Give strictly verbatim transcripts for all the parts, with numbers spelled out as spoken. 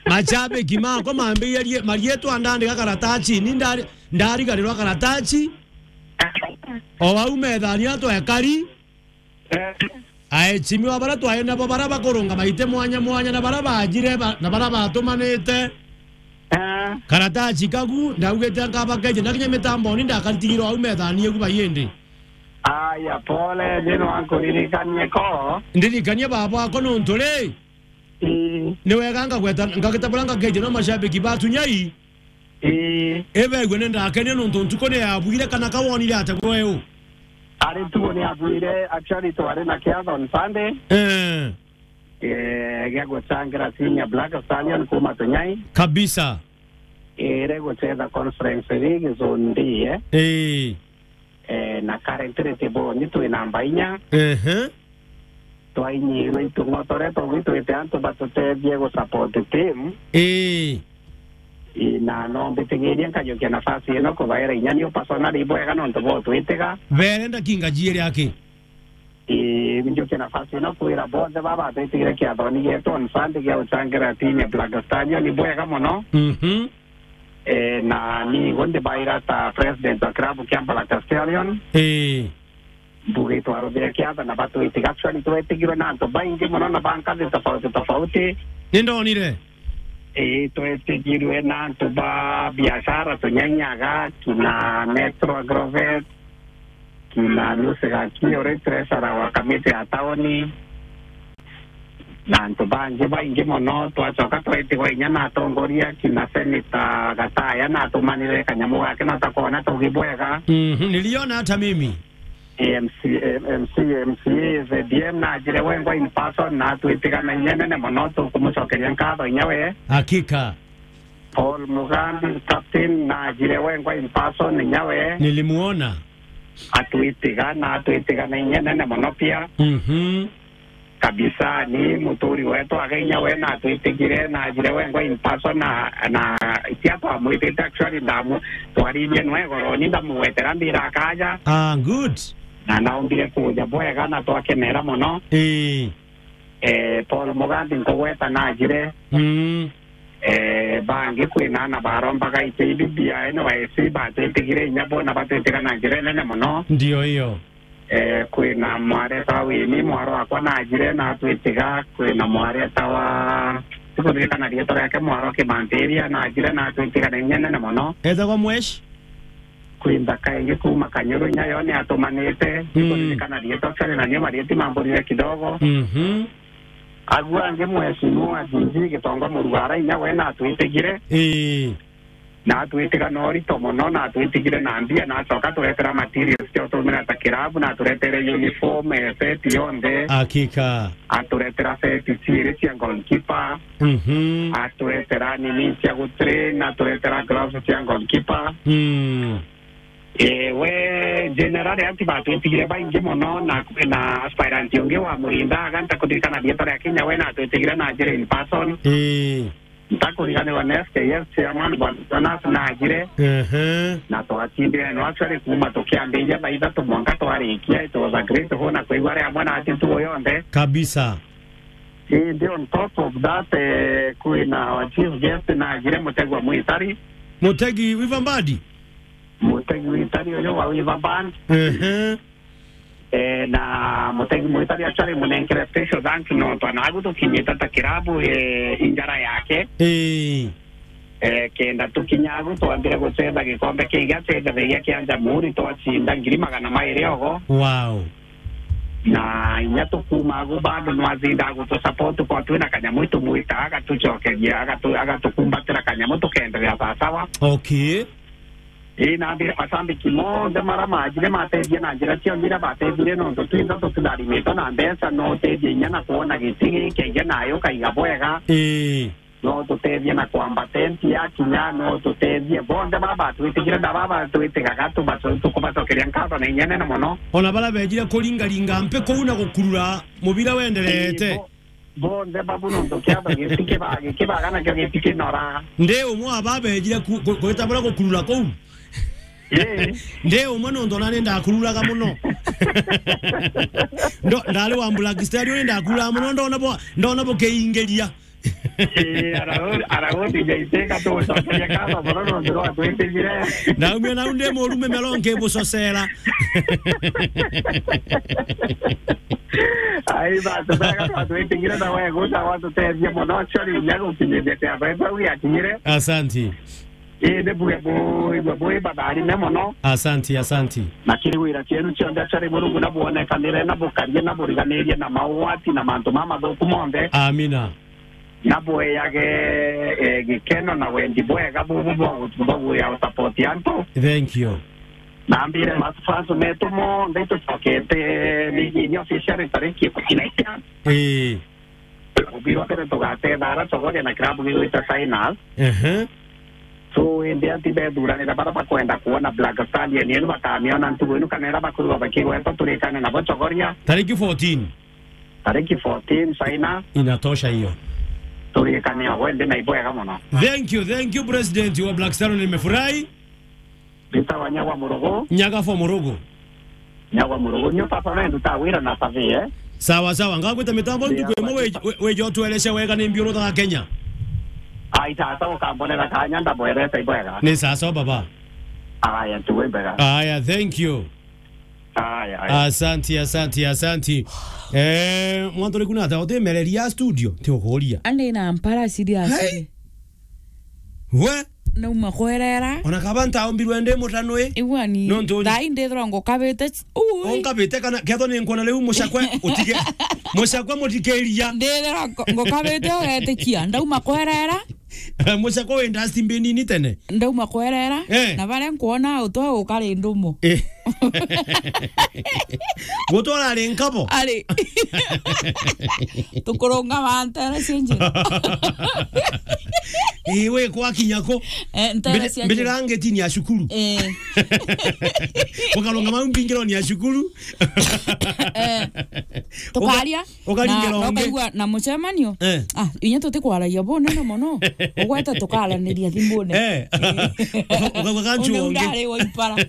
Mashabiki makwa mambirie marietwa ndandika karatasi, ni ndari-, ndarigarirwa karatasi. O au methani atwekari. Eh. Aecimiwa bara twae nabo bara bakurunga maite mwanya mwanya na bara bajire ba-, na bara batumanite. Eh. Karatasi kagu, ndaugite nkabakeje, na kinya mitamboni ndakaritigirwo au methani egu bayindi. Aya, pole, ni nwankuririkanie ko. Ndirikanie baba wako nuntu ri. Ii. Ni wega ngagweta, ngagita bura ngakeje no mashabiki ba Tunyai. Ii. Ibegue ni ndakenie nuntu ntuku ni yabuire kana ka wonire ate gwe u? Ari ntuku ni yabuire, actually twari na kiatho on Sunday. Eh. Eh, gia gucangira timu ya Black Stallion kuma Tunyai. Kabisa. Ire gucetha Conference League zone D, eh. Ii. Eh, na currently tiboni twi namba inya. Ehe. Twainyirwe itung'otore tugwitwite antu batutethie gu support team. Ii. Ii, na no mbitigirie nkajukia nafasi ino kubaira inya niu personally bwega nontu botwitiga. Berenda kinga jiere aki. Ii, njukie nafasi ino kwira bonthe baba batwitigire kiathoni gietu on Sunday gia gucangira timu ya Black Stallion ni bwega muno. Mhm. Eh, na ni igo ndibaira ta president wa club kia Black Stallion. Ii. Mbuge twaruthire kiatho na batwitiga. Actually, twetigirwe na antu baingi muno na ba nkathi tofauti tofauti. Ni ndonire. Ii, twetigirwe na antu ba biashara tunyanyaga, kina Metro Agrovet, kina Lucy Gaki, uri treasurer wa kamiti ya tauni. Na antu bangi baingi mono, twacoka twetigwa inya na atongoria, kina Senator Gataya na atumanire kanyamu gake na takwona tugi bwega. Mhm, niliona hata mimi. M C, M C, M C A, Z D M na ajire wengwa in person na atwitiga na inya nene mono, tukumucokeria nkatho inya we. Hakika. Paul Mugambi, captain, na ajire wengwa in person inya we. Nilimuona. Atwitiga na atwitiga na inya nene mono pia. Mhm. Kabisa, ni muturi wetu aga inya we na atwitigire na ajire wengwa in person na, na tia twamwitite actually ndamu twaririe nwe goro ni ndamugwetera mbira akaja. Ah, good. Na naombire kuja bwega na twakenera mono. Ii. Eh, Paul Mugambi nkugweta na ajire. Mm. Eh, bangi kwina ana barombaga ite ibi bia N Y C batwitigire inya bona batwitiga na njira nene mono. Ndio hiyo. Eh, kwina mwareta wa Wini, mwaro wakwa na ajire na atwitiga, kwina mwareta wa, sikuririkana rietwa riake, mwaro Kimantiria na ajire na atwitiga na inya nene mono. Etagwa Mwesh? Kwi nthaka ingi kuma Kanyuru inya yo ni atumanite, mm, sikuririkana rietwa actually na nio marieti mamburire kidogo. Mhm. Agu angi mheshimiwa D G Gitonga Murugara inya we na atwitigire. Ii. Na atwitiga na urito mono, na atwitigire na mbia, na acoka aturetera materials cia utumira ta kirabu, na aturetere uniform, eh, set yonthe. Hakika. Aturetera set ciiri cia goalkeeper. Mhm. Aturetera nini cia gutrain, aturetera gloves cia goalkeeper. Mm. Eh, we general anti batwitigire baingi mono, na, na aspirant ungi wa Murinda, aga ntakuririkana rietwa ria Kenya, we na atwitigire na njira in person. Ii. Ntakuriganirwa ni S K S chairman Bwana Jonas na ajire. Ehe. Na twatindire no actually kuma tukiambiria thaa ithatu mwanka twarikia, it was a great honor kwigua ari amwe na ati ntugo yonthe. Kabisa. Indi on top of that, eh, kwina our chief guest na ajire Mutegi wa Mwitari. Mutegi Wiva Mbadi? Mutegi Mwitari uyu wa Wiva Band. Ehe. Eh, na Mutegi Mwitari actually munenkere special thanks nontu anagu tukinyite ta kirabu, eh, injara yake. Ii. Eh, kenda tukinya agu twambire gucetha gikombe kingi acethagiria kia Jamhuri, twacinda ngiri magana mairi ogo. Wow. Na inya tukuma agu bado nwacinda gutu support kwa twina kanyamu itumwita agatucokeria, agatu-, agatukumbatira kanyamu tukenderea sawasawa. Okay. Ii, na mbira mashabiki monthe mara majire matethie na njira cionthe iria batethire, nontu twinthe tutitharimitwe na mbeca, no utethie inya na kwona giti giki inya nayo ukaiga bwega. Ii. No tutethie na kwamba tenti ya kinya, no tutethie bonthe baba batwitigire na baba batwitigaga, tubaco-, tukubacokeria nkatho na inya nene mono. Ona bara bejire kuringaringa mpi kuu na gukurura mubira wenderete. Ii, bo-, Bonthe babu nontu kiatho giti kiba-, kibaga nakio giti kinora. Ndi umwe wa babejire ku-, ku-, gwita buria gukurura kuu. Ii. Ndi umwe nontu nani ndakururaga muno. Ndo-, ndari wa Black Stallion ni ndakururaga muno, ndona bo-, ndona bukiingiria. Eh, arau-, arau tijaiteka tugucokeria nkatho mono nontu rwa twitinyire. Naumia nau ndi murume mero nkibucocera. Ai, basi, bega twa twitinyire na we guca watutethia mono, actually, inya gukinyithia kiatho gitau giakinyire. Asanti. Indi buge bui, bui batharime mono. Asanti, asanti. Na kiri wira cienu cionthe, actually, Murungu na bwonekanire, na bukarie, na buriganirie na maugwati na mantu mamathuku monthe. Amina. Na bweyage, eh, gikeno na wendi bwega bubu bwa gu-, bwa gwia support antu. Thank you. Na mbire ma fans metu monthe itucokete Migini officially tariki ikumi na inya. Eh. Mubira mbere tugatethara Chogoria na kirabu gigwita Signal. Ehe. So, indi anti bethuranira bara bakwenda kuona Black Stallion yenu bakamiona ntugu inu kana ira bakurwa bakigwetwa turikane nabo Chogoria. Tariki fourteen. Tariki fourteen, China. Inatosha hiyo. Turikane o, wendi na ibwega mono. Thank you, thank you, President wa Black Stallion, nimefurahi. Mbitawa Nyagwa Murugu. Nyagwa for Murugu. Nyagwa Murugu. Nyo papa wendu ta wira na safi, eh? Sawa, sawa. Ngagwita mitambo ntuku imwe we, we, we jo tueleshe wega ni mbiuru tha Kenya. Ai, tata ukambonera kanya ndamwerete ibwega. Ni sawa, sawa, baba. Aya, ntuku ibwega. Aya, thank you. Aya, aya. Asanti, asanti, asanti. Eh, mwantu riku nata utimereria studio, ti ukuria. Andi na mpara serious. Hey! We? Nauma kwerera. Ona kaba ntaombirwe ndi mutanwi. Igwani. Nontu ni- Thaa ii ndithirwa ngukabite ch-, ui. Unkabite kana kethwa ni nkuona riu mucakwe utige. Mucakwe mutikiria. Ndithirwa ngo-, ngukabite ugetikia. Ndauma kwerera. Mucakwe wi dustbin-ini tene. Ndauma kwerera. Eh. Na baria nkuona utwa ukari ndumo. Eh. Gutwara ari nkabo. Ari. Tukurunga wa ntere cia njira. Ii, we kwakinya ku? Eh, ntere cia njira. Mbitira ngitini ya cukuru. Eh. Ukarunga mau mbingironi ya cukuru. Eh. Tukaria. Ukaringira na, na ungi. Ukaigua na mucemanio. Eh. Ah, inya tutikwaragia bunene mono. Ugweta tukaraniria thimbune. Eh. Eh. Uka-, ukauga kanchu ungi. Ndari wa ipara.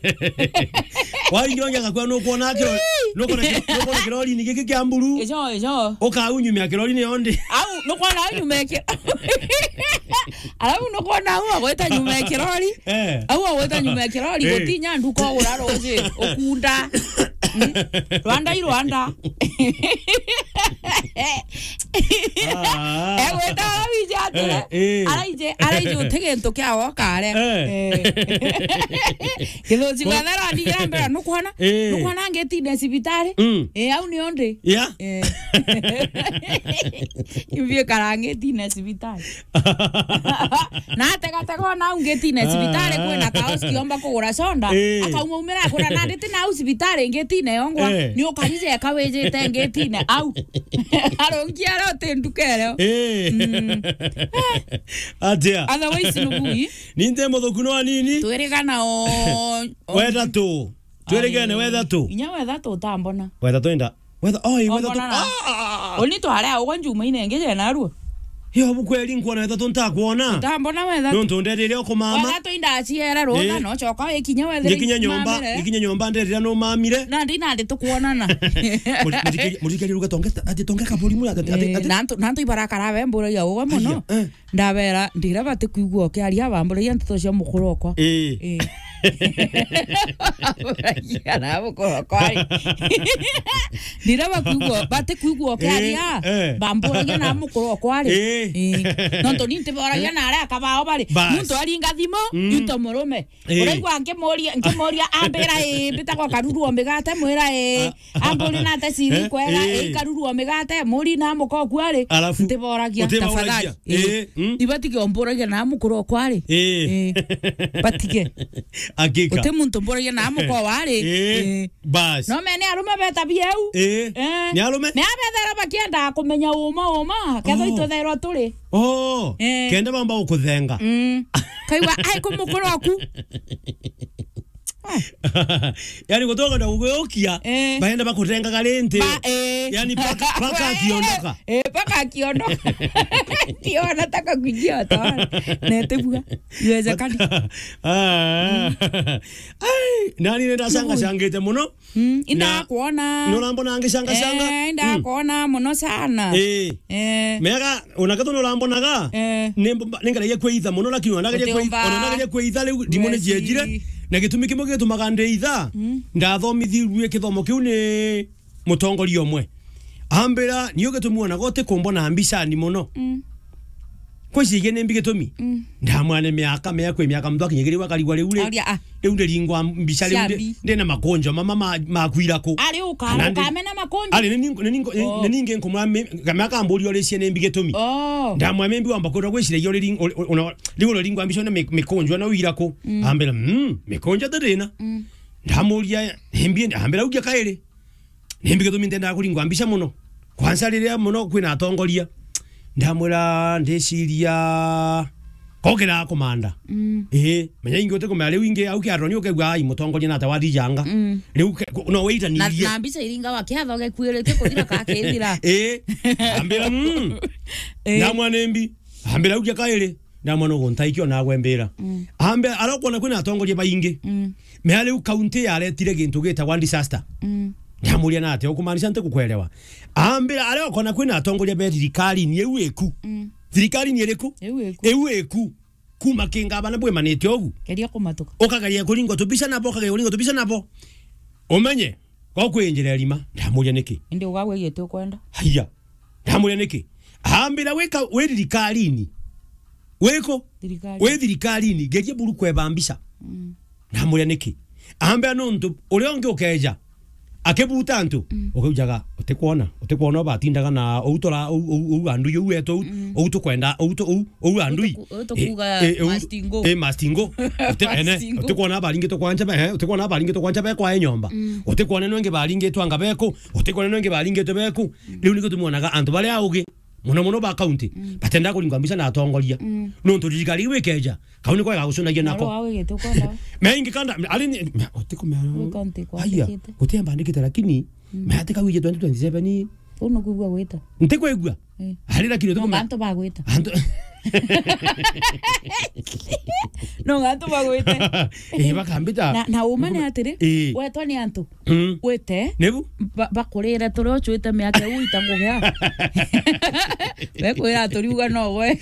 Waingira ungi agakwira nukwona kiro-, nukwona ki-, nukwona kirori ni giki kia mburu. Ijo, ijo. Ukaunyumia kirori ni ondi. Au, nukwona unyumia ki-, alafu nukwona au agweta nyuma ya kirori. Eh. Au agweta nyuma ya kirori, eh, gutinya nduka ugura ruji, ukunda. Mm. Rwanda i Rwanda. Ah. Egwita ara wije atire. Eh, eh. Araije, araije uti gintu kia wokare. Eh. Eh. Githuci ko- gwa thero andigira mbere, nukwona? Eh. Nukwona ngitine cibitari? Mm. Eh, au ni undi. Yeah. Eh. Imbi karangitine cibitari. Na ategatega ona au ngitine cibitari, ah, kwina kaos kiomba kugura soda, eh, akauma umira akura na nditi na au cibitari ngitine yongwa, eh, ni ukarije ekawijite ngitine au. Arungi ara uti nduka irio. Eh. Mm. Atia? Otherwise nubui. Ninte muthuku no anini. Twirigana o, o wethatu. Twirigane. Ai, wethatu. Inya wethatu utambona. Wethatu inda. Wetha, oi, wetha tu-, ah, ah, ah. Oni tware au kwa njuma inenge je narua. Yo, bukweri nkuona wetha tu ntakuona. Utambona wetha tu. Nontu nderire ukumama. Wetha tu inda aciere rutha, eh, no coka wikinya wethe. Ngikinya nyomba, mamire. Ngikinya nyomba nderira no mamire. Na ndi, na ndi tukuonana. Murikeri ruga tonge, ati tonge kaburi mura, ati, ati, eh, ati. Na ntu, na ntu ibarakara we mburagia uwe muno. Aya, eh. Ndabera, ndira bati kwigua ukiaria, bamburagia nteto cia mukuru okwa. Ii. Ii. Bamburagia na mukuru okwa ri. Ndira bakwigua, bati kwigua ukiaria, ii, eh, bamburagia na mukuru okwa ri. Ii. Ii. Nontu ni ntiboragia na aria akabao bari. Bas. Muntu aringa thimu, mm, into murume. Ii. Uraigua nkimuria, nkimuria, ambira, ii, mbitagwa Karuru o migate, mwira, ii. Ah. Amburi na ate ciri, eh, kwega, eh, ikaruruo migate, muri na muka okwa ri, alafu ntiboragia, utiboragia, tafadhali. Eh, eh, mm. Ibatige omburagia na mukuru okwa ri. Eh. Eh. Batige. Hakika. Uti muntu mburagia na muka wa ri. Eh. Eh. Bas. No mene arume betabia eu. Eh. Eh. Ni arume? Me abethera bakienda kumenya uma uma, ketho, oh, itutherwa turi. Oh. Eh. Kenda bamba gukuthenga. Mm. Kaigua, ai, ku mukuru oku. Yani, gutoka na gugiokia, eh, baenda bakutengaga rindi. Ba, eh. Yani, paka, paka akiondoka. Eh, paka akiondoka. Ati ona taka kujia oto. Netebua. Iwezekani. Ah. Ai, nani nenda sanga sangite muno? Mm, indakwona. Nurambona ngicanga canga? Eh, indakwona muno sana. Eh. Eh. Mega, ona ketho nurambonaga, eh, ni mb-, ni ngeragia kwitha muno, lakini ona ngeria kwitha, ona ngeria kwitha riu, ndimo ni jiejire. Na gitumi kimwe gitumaga nditha, mm, ndathomithirue kithomo kiu ni mutongoria umwe. Ambira, "Ni ugitumi wonaga utikumbona mbicani muno." Mm. Kwicigie ni mbi gitumi? Mm. Ndamwira ni miaka, mea kwi miaka muntu akinyagiriwa akarigwa riu ri. Oria, ah. Riu ndiringwa mbica riu ndi, ndi na makunjo mama ma, ma kwira ku. Ari uka-, ukamena makunjo? Ari ni ningo, ni ningo, ni ningi nkumwira mi-, kamea kamburia uricie ni mbi gitumi. Oh. Ndamwira mi mbi wamba kwirwa gwiciragia uri ring-, uri, uri, una, riu uriringwa mbica na mi-, mikunjo na wira ku. Mm. Ambira, "Mm, mikunjo ti thina." Mm. Ndamuria, "Ni mbi?" Ambira, "Ugia kairi." Ni mbi gitumi ntendaga kuringwa mbica muno? Kwanza riria muno kwina atongoria. Ndamwira ndiciria kokira kumanda. Mm. Ii, menya ingi utikumenya riu ingi au kiaroni ukegua ai mutongoria nata wathijanga. Mm. Riu ke-, ku-, no na, waitanirie. Na mbica iringa wa kiatho gekuiritie kuthira ka kithira. Ii, ambira, mm. Ii. Ndamwira ni mbi. Ambira ugia kairi. Ndamwona uguo ntaikio nagwe mbira. Mm. Ambe, aria ukwona kwina atongoria baingi. Mm. Mea riu kaunti yaretire gintu gitagwa disaster. Mm. Ndamuria na atia, ukumaanisha nti kukuelewa? Ambira, aria ukwona kwina atongoria be thirikarini iu iku. Mm. Thirikarini iriku? Iu iku. Iu iku. Kuma kingabana bwimanite ugu. Geria kumatuka. Ukageria kuringwa tubica nabo, ukageria kuringwa tubica nabo. Umenye, ko kwinjira erima. Ndamuria niki? Indi ugagwe giti ukwenda. Haiya. Ndamuria niki? Ambira wika, wi thirikarini. Wiku? Thirikari. Wi thirikarini, geria buru kweba mbica. Mm. Ndamuria niki? Ambira nontu uria ungi ukeja, akibuta antu, mm, ukaujaga, utikwona, utikwona batindaga na ou tura, ou, ou, ou andu iu wetu, ou, mm, ou tukwenda, ou tu-, ou, ou andu i. Utuku-, utukuga eh, eh, ou, mastingo. Eh, mastingo. Uti-, ene, mastingo. Utikwona baringitwe kwa ncha be, eh, utikwona baringitwe kwa ncha be kwa nyomba. Mm. Utikwona nwengi baringitwe anga beku, utikwona nwengi baringitwe beku. Mm. Riu nikio tumwonaga antu baria augi, muno muno ba county, mm, batenda kuringwa mbica na atongoria. Mm. Nontu thirikari iu ikeja, kau niko igagucunagia nako. Naro wao igite ukwenda. Meingi kanda, ari ni, me-, utikumea. Wi county kwa aya, andikite. Guti mbandikite, lakini, mm, me ati kau ije twenty twenty-seven. Uu nukwigua gwita? Ntikwigua. Eh. Ari lakini no utukumea. Antu bagwita. Antu. No antu bagwite. Eh, bakambita. Na, na uma ni atiri, eh, wetwa ni antu. Mm. Wite. Nibu? Ba-, bakurire turia ucwite miaka iu itangugea. We kwira turiuga no we.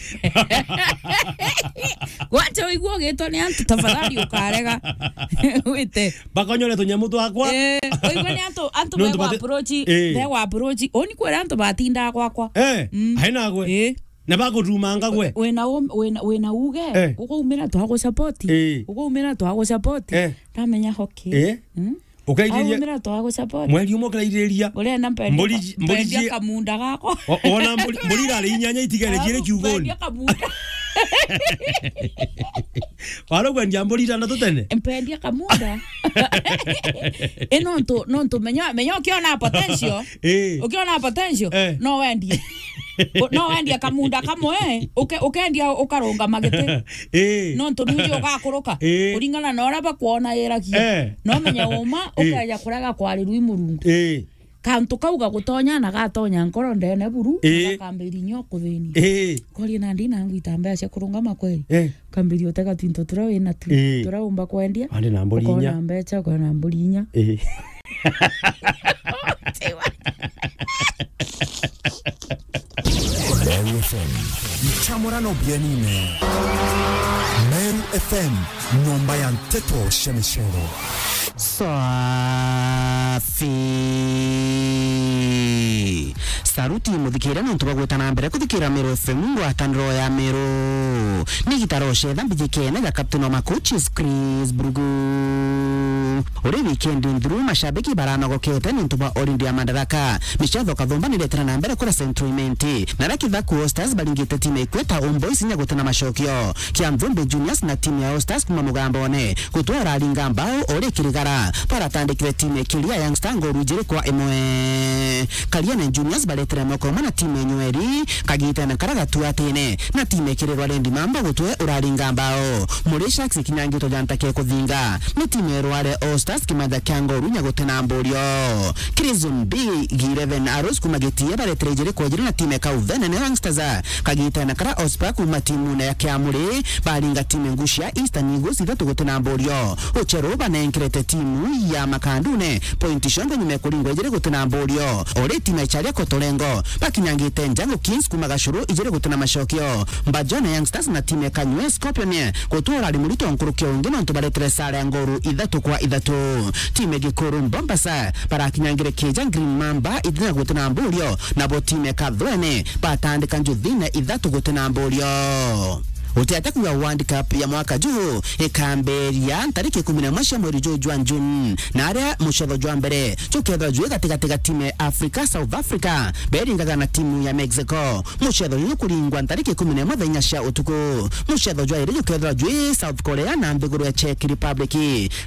Gwacha uigua ugitwa ni antu, tafadhali ukarega. Wite. Bakonyore tunyamu twakwa. Eh, uigua ni antu, antu nontu begwa bati-, approach, eh, begwa approach. Uni kwira antu batindaa gwakwa. Eh, mm, haina gwe. Eh. Na bakutumanga gwe. Wina um-, wina, wina uge. Eh. Ukaumira twagusupport. Eh. Ukaumira twagusupport. Eh. Ndamenya hoki. Eh. Mm? Ukairiria. Aumira twagusupport. Mweri umwe ukirairiria. Urenda mpendia mburi ka-, ji-, mburi mpendia ji-, kamunda gako. O-, ona mburi, mburi irari inyanya itigere jire kiugoni. Mpendia kamunda. Wari ukwendia mburi itandatu tene? Mpendia kamunda. Ino ntu, nontu menya, menya ukiona potential. Eh. Ukiona potential, eh, no wendie. U-, no wendie kamunda kamwe, uke-, ukendia ukarungama giti. Eh. Nontu nuji ugakuruka. Eh. Kuringana na uria bakwona iragia. Eh. No menya uma, eh, ukeja kurega kwarirua i Murungu. Eh. Kantu kau gagutonya na gatonya nkoro ndene buru, ii, na gakambiria inya ukuthinia. Ii. Koria nandi nangwita mbeca cia kurungama kweri? Ii. Ukambiria utega twinto turia wina tu, ii, turia umba kwendia. Andi na mburi inya. Ukona mbeca, ukona mburi inya. Ii. Meru F M. Nchamurano bienine. Meru F M, nyomba ya nteto cia micero. Safi. Saruti muthikire nontu bwa gwita na mbere kuthikira Meru F M, ngwataniro ya Meru. Ni gitaro cetha mbijikene ja captain wa macoaches Chris Brugu. Uri weekend nthuru, mashabiki baranogokete nontu bwa holiday ya Madaraka. Micetho kathumba niretera na mbere kuria Central Imenti. Na aria Kithaku All Stars baringite timu ya Ikweta Homeboys inya gutina macokio. Kia Nthumbi Juniors na timu ya All Stars kuma Mugambone gutwara aringa mbao uri Kirigara. Baratandikire timu ya Kiria Young Star ngoru ijiri kwa imwe. Kariene Juniors bari Tere moko umwe na timu enyweri, kagitene kara gatuatine, na timu ikirirwa Rendi Mamba gutwe uraringa mbao. Muri Sharks ikinyangitwe ja ntake kuthinga, ni timu erware All Stars kimanza kia Ngoru nya gutena mburio. Crimson B, G eleven Arrows kuma Gitie baretere ijiri kwa ijiri na timu ya Kauvene na Youngsters, kagitene kara Ospa kuma timune ya Kiamuri baringa timu ngucia Eastern Eagles ithatu gutena mburio. Ucheru banenkerete timu ya Makandune pointi cionthe nyuma ya kuringwa ijiri gutena mburio. Ori timu ya Charia Kotorengo bakinyangite Njangu Kings kuma Gacuru ijiri gutena macokio. Mbajone Youngsters na timu ya Kanywe Scorpion gutwara ari murito nkuruki ungi nontu baretere sare ya Ngoru ithatu kwa ithatu. Timu ya Gikuru Bombasa barakinyangire kija Green Mamba ithatu gutena mburio, nabo timu ya Kathwene batandika Njuthine ithatu gutena mburio. Utiate kuuga World Cup ya mwaka juu ikambiria ntariki ikumi na imwe cia mweri juu jwa June, na aria mucetho jwa mbere jukethirwa jwi gatigati ga timu ya Africa, South Africa beringaga na timu ya Mexico. Mucetho juju kuringwa ntariki ikumi na imwe thaa inya cia utuku. Mucetho jwa iri jukethirwa jwi South Korea na nthiguru ya Czech Republic.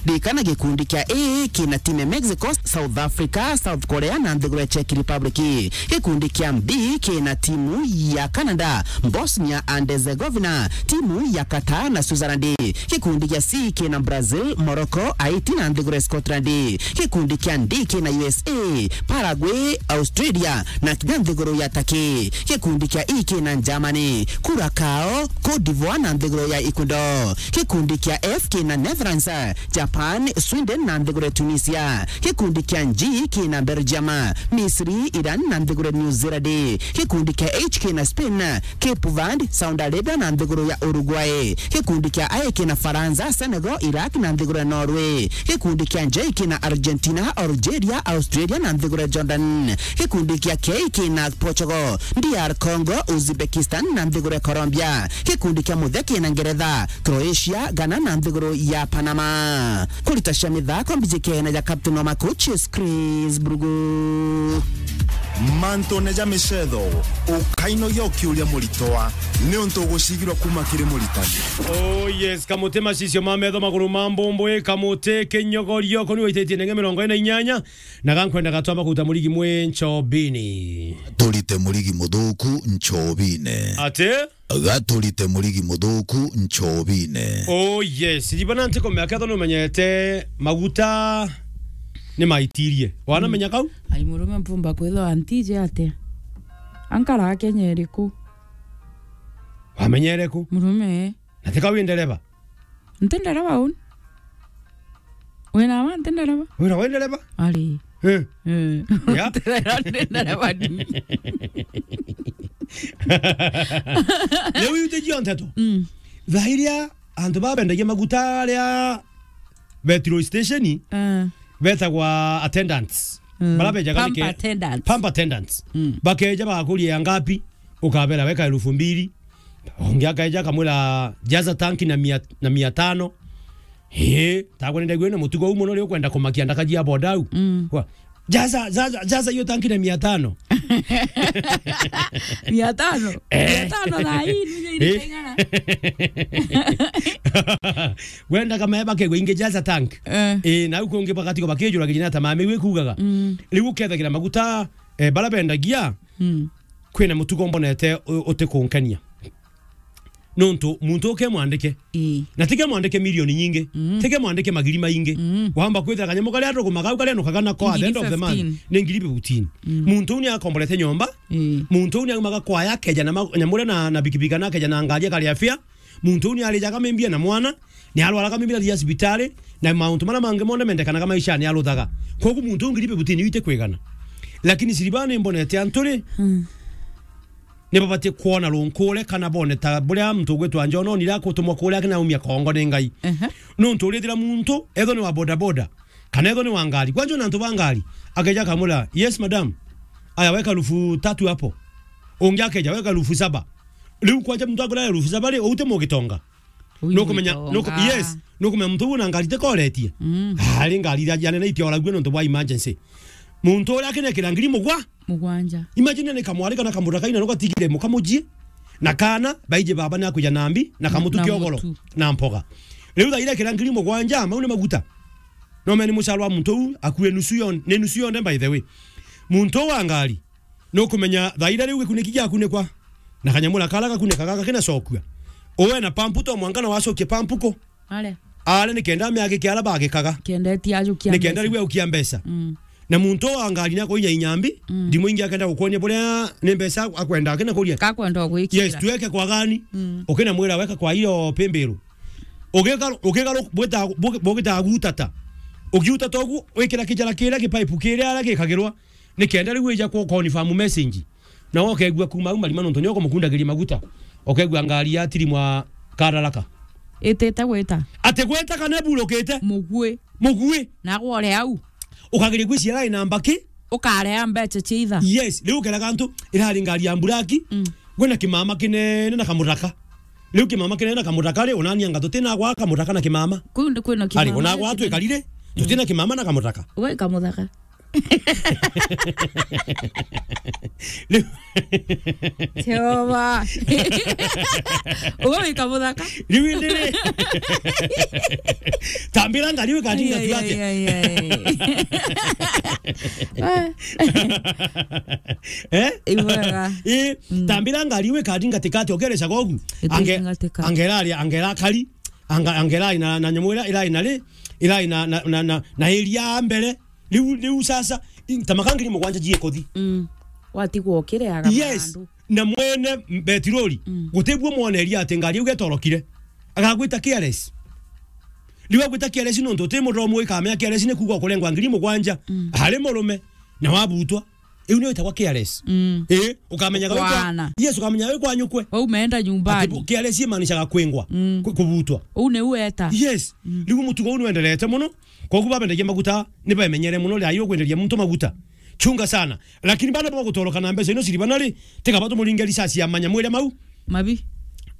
Ririkana gikundi kia A kina timu ya Mexico, South Africa, South Korea na nthiguru ya Czech Republic. Gikundi kia B kina timu ya Canada, Bosnia and Herzegovina, timu ya Qatar na Switzerland. Gikundi kia C kina Brazil, Morocco, Haiti na nthiguru ya Scotland. Gikundi kia D kina U S A, Paraguay, Australia na kinya nthiguru ya Turkey. Gikundi kia E kina Germany, Curacao, Cote d'Ivoire na nthiguru ya Ecuador. Gikundi kia F kina Netherlands, Japan, Sweden na nthiguru ya Tunisia. Gikundi kia G kina Belgium, Misri, Iran na nthiguru ya New Zealand. Gikundi kia H kina Spain, Cape Verde, Saudi Arabia na nthiguru ya Uruguay. Gikundi kia I kina Faransa, Senegal, Iraq na nthiguru ya Norway. Gikundi kia J kina Argentina, Algeria, Australia na nthiguru ya Jordan. Gikundi kia K kina Portugal, D R Congo, Uzbekistan na nthiguru ya Colombia. Gikundi kia muthe kina Ngeretha, Croatia, Ghana na nthiguru ya Panama. Kurita cia mithako mbiji kena ja Captain wa Makuchis, Chris Brugu. Mantune ja micetho, ukainogia ukiuria muritwa, niuntu ugucigirwa kuma kiri muritani. Oh yes, kamuti macicio ma metho, maguru ma mbumbui, kamuti kinyogorio, kuni waititie nenge mirongo ina na inyanya, na gankwenda gatwamba kuruta murigi mwi nchobini. Turite murigi muthuku nchobine. Ati? Gaturite murigi muthuku nchobine. Oh yes, ribana ntikumea kethwa numenyete maguta ni maitirie. Wanamenya kau? Ai, murume mpumba kwithwa antije atia? Ankara Kenya iriku? Wamenyere ku? Murume. Na tika wi ndereba? Nti ndereba uni. Wina wa nti ndereba? Wina wa ndereba? Ari. Eh. Eh. Ya? Nti ndereba, nti ndereba ni. Riu iu tijio nteto. Mm. Thaa iria antu babendagia maguta aria petrol station, eh, betagwa attendants. Mm. Bara bejaga pump nike-, attendants. Pump attendants. Mm. Bakeja bagakuria ya ngapi, ukabera weka elfu mbili. Ungi akaeja akamwira, "Jaza tanki na mia, na mia tano." Ii, tagwe nindegwire na mutugo uu muno, ri ukwenda kumakia ndaka jia boda au. Mm. Kwa, "Jaza, jaza, jaza hiyo tanki na mia tano." Mia tano? Eh. Mia tano thaa hii, nije. Eh. Iringana. Wenda kama eba kegwe ingi jaza tank. Eh. Eh, na au kungi bagatigo bakijura kijina ta mami gwe kugaga. Mm. Riu ukethagira maguta, eh, bara bendagia. Mm. Kwina mutugo mbonete u-, utikunkenia. Nontu muntu ukemwandike. Ii. Na tikemwandike milioni nyingi. Mm. Tikemwandike magiri maingi. Mm. Wamba kwithira kanyamu karia tugumaga au karia nukaga nako at the end of the month, fifteen. Ni ngiri fifteen. Mm. Muntu uu ni akomborete nyomba. Ii. Muntu uu ni aumaga kwaya akeja na ma-, nyamu uria na, na bikibiki kana akeja na ngari akaria fare. Muntu uu ni arijaga mimbia na mwana. Ni arwaraga mimi athia cibitari, na mauntu maria mangi monthe mendekanaga maishani aruthaga. Kwogu muntu uu ngiri fifteen iti kwigana. Lakini Silvana imbonete antu ri, mm, ni babatie kwona runkure kana bone ta buria muntu ugwitwa John onire akutumwa kuria akinaumia kongo ni Ngai. Ehe. Nuntu urithira muntu, ethwa ni wa bodaboda, kana ethwa ni wa ngari. Kwanja ona antu ba ngari, akeja akamwira, "Yes, madam. Aya, weka elfu tatu hapo." Ungi akeja, "Weka elfu saba." Riu kwanja muntu akwira elfu saba ri, uute mugitonga. Nukumenya, nuku-, yes, nukumenya muntu uu na ngari tikoretie. Mm. Ari ngari iria jianene itioragua nontu bwa emergency. Muntu uria akinekira ngiri mugwa-, mugwanja. Imagine ni kamwari kana kamuthaka ina nugatigire muka mujii. Na kana, baiji baba ni akuja na mbi, na kamutu na kiogoro, mutu, na mpoga. Riu thaa iria kira ngiri mugwanja, mau ni maguta. No meni mucaro wa muntu uu, akue nusu yon-, ni nusu yonde, by the way. Muntu uu wa ngari, Nukumenya thaira riu gikuniki giakunikwa, na kanyamura kara gakunikaga gakinacokua. Uwe na pampu to mwanka na wacokie pampu ku. Are. Are ni kenda miagi kiara bagikaga. Kenda eti ajukia Ni kenda mbeca. Riu aukia mbeca. Mm. Na muntu wa ngari ni akuinya inyambi, Mm. ndimu ingi akenda gukwonia buria ni mbeca akwenda akina kuria. Kakwenda gwikira. Yes, tuweke kwa gani? Mm. Ukina mwira weka kwa iyo pemberu. Ugigaru-, ugigaru-, bwita-, bugi-, bugitaga gutata. Ugiutata ugu, wikira kijara kiria gipaipu kiria aria gikagirwa. Ni kenda riu ija ku confirm message. Na ukegua kuma au marima nontu ni ukumukundagiria maguta. Ukegua ngari ya tiri mwa kararaka. Itite gwita. Ati gwita kana burukite? Mugui. Mugui. Na gwore au. Ukageria gwiciara ina mbaki? Ukareha mbeca cia itha. Yes, riu ukeraga antu irari ngari ya mburaki. Mm. Gwina kimama kinene na kamuraka. Riu kimama kinene na kamuraka ri, unani anga tutina gwa kamuraka na kimama. Kuu ndi kwina kimama. Ari, unagwa na kinene. Tuikarire, tutina kimama na kamuraka. We kamuthaka. Riu Jehova. Uwe wika muthaka. Riu indi ri. Tambira ngari wikati ngati atia. Ai, ai, ai. Eh? Ibwega. Eh, Mm. tambira ngari wikati ngati kati okereca gogu. Iti Ange-, ngatika. Angera ari, angera kari. Anga-, angera na, na nyamu ira, ira ina ri, ira ina, na, na, na, na iria mbere. Riu, riu sasa, i-, ta maka ngiri mugwanja jie kuthi. Mm. Watigwo ukireaga Yes. Marandu. Na mwene betirori, Mm. gutibua mwoneria ati ngari iu getorokire. Agagwita careless. Riu agwita careless nontu uti muromo ikamenya careless ni kuuga ukurengwa ngiri mugwanja. Mm. Hari murume, na wabutwa. Iu niyo itagwa careless. Mm. Eh, ukamenya gawe kwa Kwana. Yes, ukamenya gawe kwa nyukwe. Wau umeenda nyumbani. Ati bu-, careless imaanishaga kwengwa, Mm. ku-, kubutwa. Uu ni ueta. Yes. Mm. Riu mutugo uu nwenderete muno. Koguo babendagia maguta, ni bamenyere muno ria yo kwenderia muntu maguta. Chunga sana. Lakini bana bo gutoroka na mbeca ino ciribana ri, tiga batu muringe risasi ya manya mwire mau. Mabi.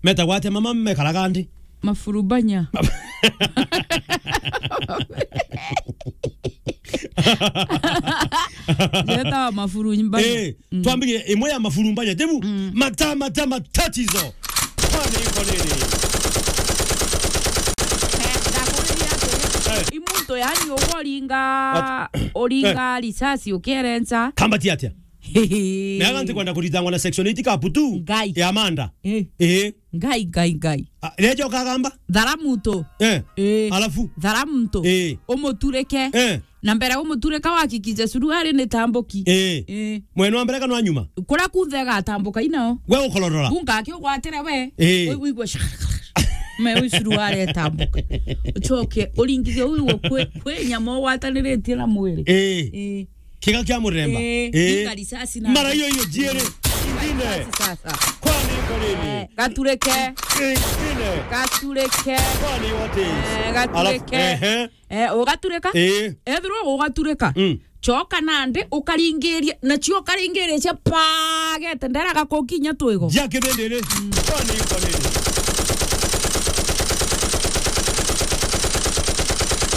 Meta gwate mama mekaraga ndi. Mafurubanya. Jeta wa mafurubanya. Eh, Mm. Twambirie imwe ya mafurumbanya. Tebu, Mm. mata, mata, matatizo. Kwani iko nini? Eh, ndakuriria atiri, Eh. I muntu yani ugoringa, At-, uringa Eh. Risasi ukierenca. Kambati atia? Hehe. Meaga ntikwenda kuritangwa na section eight kapu tu Ngai. Ya manda. Eh. Eh. Ngai, ngai, ngai. Ah, rejo kagamba? Thara muntu. Eh. Eh. Alafu? Thara muntu. Eh. Umuturike. Eh. Na mbere umuturika wakikije suruari ni tambuki. Eh. Eh. Mwena wa mbere kana wa nyuma? Kuria kunthe igatambuka inao. We ukororora. Kunga akiugwatire we. Eh. We wigwe shak-, me wi suruari itambuka. Ucoke uringithie wigwe kwi, kwi nyama ugwataniritie na mwiri. Eh. Eh. Kiga kia muremba. Eh. Eh. Inga risasi na Mara hiyo hiyo jiere. Ingine. Risasi sasa. Kwani iko nini? Eh, gaturike. Ingine. Gaturike. Kwani what is? Eh, gaturike. Alafu, ehe. Eh, ugaturika? Eh. Ethirwa ugaturika. Mm. Choka nandi ukaringiria, na cio ukaringiria cia pagete ndera gakukinya twigo. Jia kibindiri. Mm. Kwani iko nini?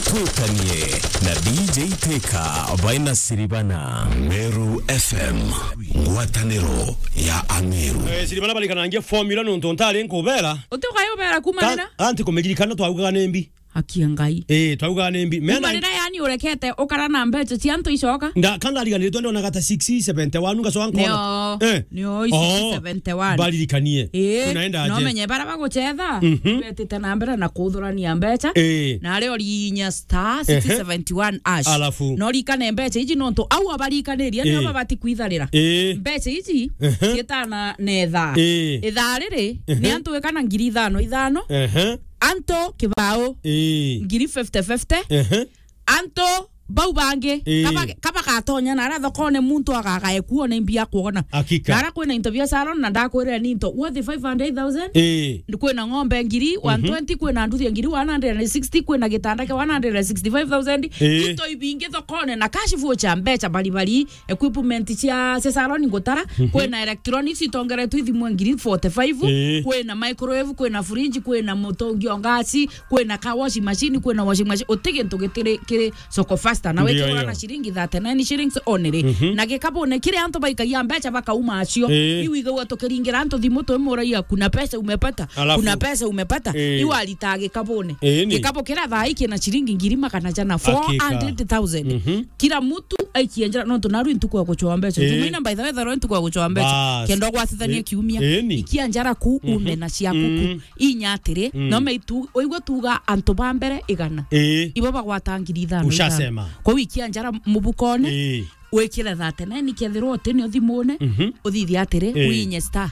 Twitanie na D J Teka baina Siribana. Meru F M, ngwataniro ya Ameru. Eh, Siribana barikanangia formula nontu ntari nkubera. Uti ukayubera kuma Ka-, rira? Anti kumiririkana twaugaga ni mbi. Haki ya Ngai. Eh, twaugaga ni mbi. Mena Kuma rira yani urekete ukara na mbeca cia antu icoka? Nda-, ka ndariganirwe ndonaga ta six seventy-one ngacoka nkona. Nio, Eh. nio, Oh, six seventy-one. Baririkanie. Eh, Tunaenda no aje? Menye bara bagucetha, Mhm. Betite na mbere na kuthurania mbeca. Eh. Na ari orinya star Ehe. six seventy-one hash. Alafu? No rikane mbeca iji nontu au abarikanirie nio Eh. babati kwitharira. Eh. Mbeca iji Ehe. cietana na ithaa. Eh. Ithaa riri Ehe. Ni antu wikana ngiri ithano ithano. Ehe. Anto kibao. Ii. Ngiri fifty fifty. Ehe. Anto bau bangi, Ii. kaba-, kaba gatonya na ara thokone muntu agagae kuona imbi ya kuona. Hakika. Na ara kwina into bia salon na ndakwirira ni into worth five hundred thousand. Ii. Kwina ng'ombe ngiri Mhm. one twenty, kwina nduthi ya ngiri one hundred and sixty, kwina gitanda kia one hundred and sixty-five thousand. Ii. Into ibingi thokone na cash voucher mbeca bari bari. Equipment cia, cia salon ngutara, Mhm. Kwina electronics itongeretwe ithimwe ngiri forty-five, Ii. Kwina microwave, kwina fridge, kwina mutungi o ngasi, kwina car washing machine, kwina washing machine. Uti gintu gitiri kiri soko fast. Na wekirwa na ciringi thirty-nine shillings only. Mhm. Na gikabune kiri antu baikagia mbeca bakauma acio. Ii. Iu igagua tukiringira antu thimu twimuragia, "Kuna pesa umepata? Alafu, kuna pesa umepata?" Ii. Iu aritaga gikabune. Ii, ni. Gikabu kiria thaa ii kina ciringi ngiri magana jana, hakika, four hundred thousand. Mhm. Kila mtu aikia njara, nontu naru ntuku ya gucoa mbeca. Ii. Jumaine, by the way, tharu ntuku ya gucoa mbeca. Bas. Kenda gwatithania, ii, kiumia. Ii, ni. Ikia njara ku, mhm, ume na ciaku ku. Mm. Inya atiri, mm, no maitu, oigua tuga antu ba mbere igana. Ii. Ibo bagwata ngiri ithano, ushasema, ithano. Kwa wiki ya njara mubukone, ii, wikire thirty-nine kethirwa uti nio thimune, mhm, uthithia atiri, ii, winye star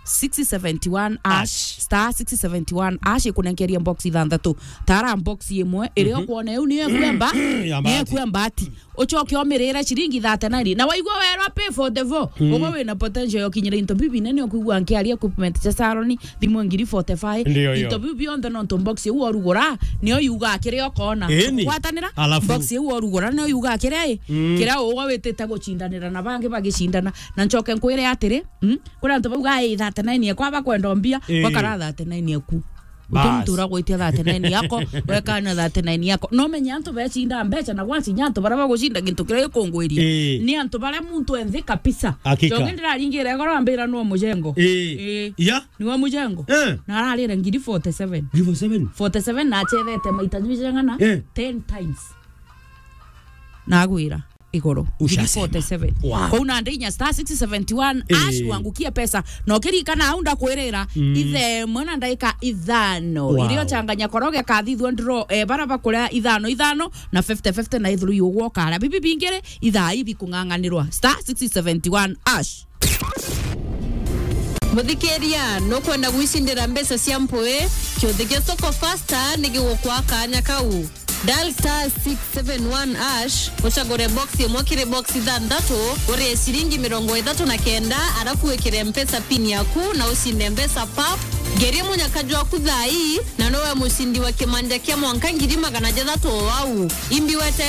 six seventy one hash, hash, star six seventy one hash, ikunenkeria box ithanthatu. Tara box imwe, iria, mhm, ukwona iu niyo ekwemba, ya niyo bahati, ekwemba ati. Ucoke umirire ciringi thirty-nine. Na waigua werwa pay forty-four, mm, ugo wina potential ya ukinyira into biu binene, ukwigua nkiaria equipment cia salon, thimu ngiri forty-five. Ndio, ndio. Into biu bionthe nontu box iu orugura, niyo yuga kiria ukona. Ii, ni. Gwatanira? Alafu? Box iu orugura, niyo yuga kiria i, mm, kiria ugo witite gucindanira na bangi bagicindana. Na ncoke nkwire atiri, mm, kuri antu bauga, "Ai, thirty-nine ekwa bakwenda mbia," ii, bakara thirty-nine eku. Uti, bas, muntu uragwitia thirty-nine yako, wekana thirty-nine yako. No menye antu becinda mbeca, na gwacinya antu baria bagucinda gintu kiria gikungwiria. Ii. Ni antu baria muntu enthi kabisa. Hakika. Jongi ndiraringire goro ambira no mujengo. Ii. Ii. Ya? Ni wa mujengo. Eh. Na ararire ngiri forty-seven. Ngiri forty-seven? Forty-seven na achethete maita jwigana? Eh. Ten times. Nagwira igoro. Ushasema. Ngiri forty-seven. Wow. Kou na ndainya star six seventy one hash, eh, wangukie pesa. Na ukirikana au ndakwirira, mm, ithe mwana ndaika ithano. Wow. Irio changanya koroge kathithwa ndro, eh, bara bakuria ithano ithano na fifty fifty na ithuru yugwo kara. Bibi bingire ithaa ibi kung'ang'anirwa. Star six seventy one hash. Muthikiria, nukwenda gwicindira mbeca cia mpui? Kiuthi gia Soko Fasta ni gigukwa kanya kau. Dial star six seven one hash, ucagure box imwe kiri box ithanthatu, urie ciringi mirongo ithatu na kenda, arafu wikire Mpesa pin yaku na ucinde mbeca pap. Ngeria munyaka jwaku thaa ii, na nowe mucindi wa kimanja kia mwanka ngiri magana jathatu o au. Imbi wete